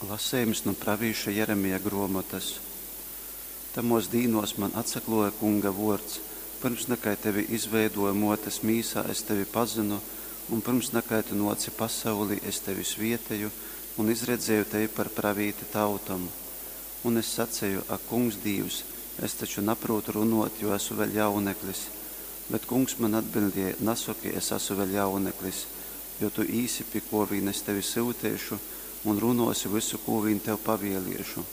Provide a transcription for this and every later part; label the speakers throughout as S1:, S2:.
S1: Lasejums nu pravīša Jeremija gruomotas. Tamuos dīnuos man atsakluoja Kunga vuords: Pyrms nakai tevi izveiduoju muotes mīsā, es tevi pazynu, un pyrms nakai tu nuoci pasaulī, es tevi svieteju un izredzieju tevi par pravīti tautom. Un es saceju: Ak, Kungs Dīvs, es taču naprūtu runuot, jo esu vēļ jauneklis. Bet Kungs man atbiļdēja: Nasoki, es asu vēļ jauneklis, jo tu īsi, pi kuo vīn es tevi syuteišu, un runuosi vysu, kū vīn tev pavieliešu.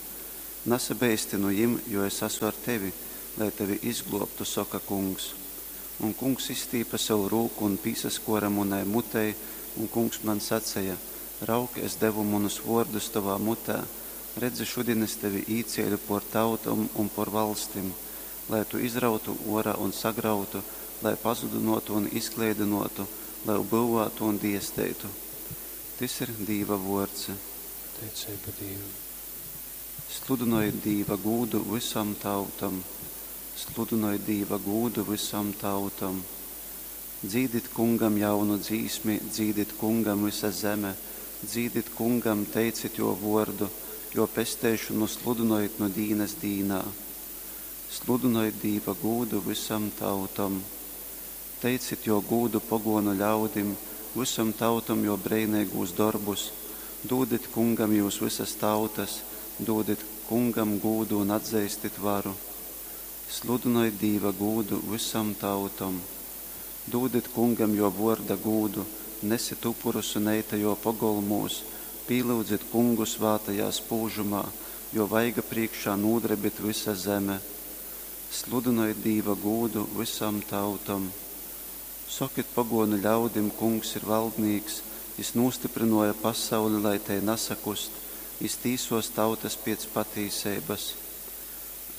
S1: Nasabeisti nu jim, jo es asu ar tevi, lai tevi izgluobtu, soka Kungs. Un Kungs izstīpe sovu rūku un pīsaskuore munai mutei, un Kungs man saceja: Raug, es devu munus vuordus tovā mutē, redzi, šudin es tevi īcieļu puor tautom un puor valstim, lai tu izrautu uorā un sagrautu, lai pazudynuotu un izkleidynuotu, lai byuvātu un diesteitu. Tys ir Dīva vuords.
S2: Pateiceiba Dīvam.
S1: Sludynojit Dīva gūdu vysom tautom. Sludynojit Dīva gūdu vysom tautom. Dzīdit Kungam jaunu dzīsmi, dzīdit Kungam vysa zeme, dzīdit Kungam, teicit jō vōrdu, jō pesteišonu sludynojit nu dīnas dīnā. Sludynojit Dīva gūdu vysom tautom. Teicit jō gūdu pogōnu ļaudim, vysom tautom jō breineigūs dorbus. Dūdit Kungam jyus vysas tautas, dūdit Kungam gūdu un atzeistit varu. Sludynojit Dīva gūdu vysom tautom. Dūdit Kungam jō vōrda gūdu, nesit upurus un eite jō pogolmūs, pīlyudzit Kungu svātajā spūžumā, jō vaiga prīškā nūdrebit vysa zeme. Sludynojit Dīva gūdu vysom tautom. Sokit pogōnu ļaudim, Kungs ir valdnīks, jys nūstyprynōja pasauli, lai tei nasakust, jys tīsōs tautas piec patīseibas.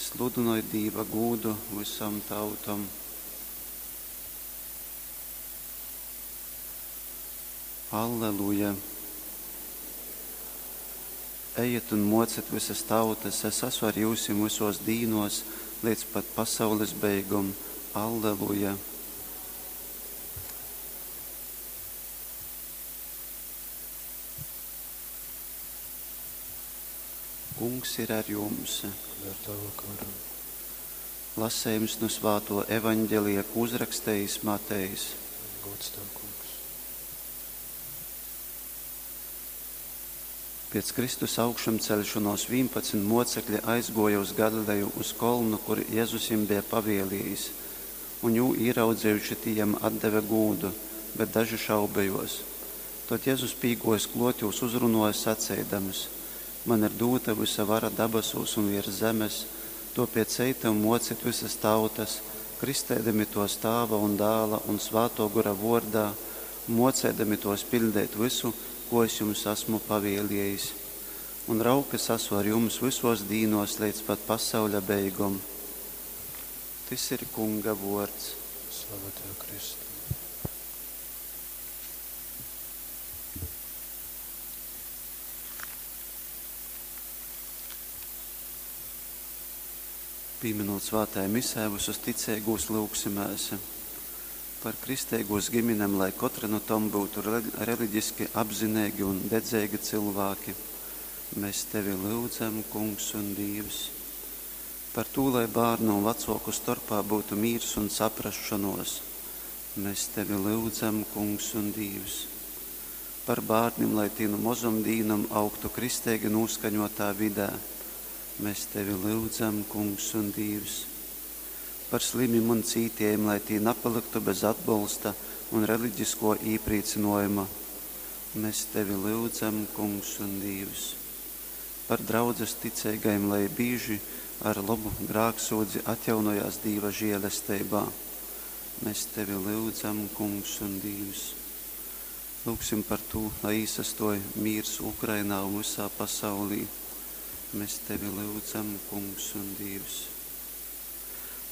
S1: Sludynojit Dīva gūdu vysom tautom. Alleluja! Ejit un mocit vysas tautas, es asu ar jyusim vysuos dīnuos leidz pat pasaules beigom. Alleluja! Kungs ir ar jums.
S2: Un ar tavu garu.
S1: Lasejums nu svātuo Evaņgelija, kū uzrakstejis Matejs.
S2: Gods tev, Kungs.
S1: Piec Kristus augšamceļšonuos 11 muocekli aizguoja uz Galileju, uz kolnu, kur Jezus jim beja pavieliejis. Un jū īraudzejuši, tī jam atdeve gūdu, bet daži šaubejuos. Tod Jezus pīguojis kluot jūs uzrunuoja saceidams: Man ir dūta vysa vara dabasūs un viers zemes, tuopiec ejte un muocit vysas tautas, kristeidami tuos Tāva un Dāla un Svātuo Gora vuordā, un muoceidami tuos piļdeit vysu, ko es jums asmu pavieliejis. Un raug, es asu ar jums vysuos dīnuos leidz pat pasauļa beigom. Tys ir Kunga vuords.
S2: Slava tev, Kristu.
S1: Pīminūt svātajā misē visus ticeigūs lyugsimēs par kristeigūs giminem, lai kotra nu tom byutu reliģiski apzineigi un dedzeigi cylvāki. Mēs tevi lyudzam, Kungs un Dīvs. Par tū, lai bārnu un vacuoku storpā byutu mīrs un saprasšonuos. Mēs tevi lyudzam, Kungs un Dīvs. Par bārnim, lai tī nu mozom dīnom augtu kristeigi nūskaņuotā vidē. Mēs tevi lyudzam, Kungs un Dīvs. Par slimim un cītiejim, lai tī napalyktu bez atbolsta un reliģiskuo īprīcynuojuma. Mēs tevi lyudzam, Kungs un Dīvs. Par draudzes ticeigajim, lai bīži ar lobu grāksūdzi atjaunojās Dīva žielesteibā. Mēs tevi lyudzam, Kungs un Dīvs. Lūgsim par tū, lai īsastuoj mīrs Ukrainā un vysā pasaulī. Mēs tevi lyudzam, Kungs un Dīvs.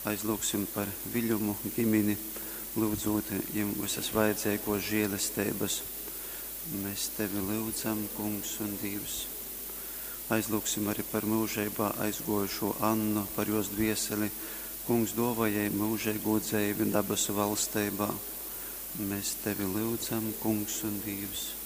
S1: Aizlūgsim par Viļumu gimini, lyudzūt jim vysas vajadzeiguos žielesteibas. Mēs tevi lyudzam, Kungs un Dīvs. Aizlūgsim arī par myužeibā aizguojušū Annu, par juos dvieseli. Kungs duovoj jai myužeigū dzeivi dabasu valsteibā. Mēs tevi lyudzam, Kungs un Dīvs.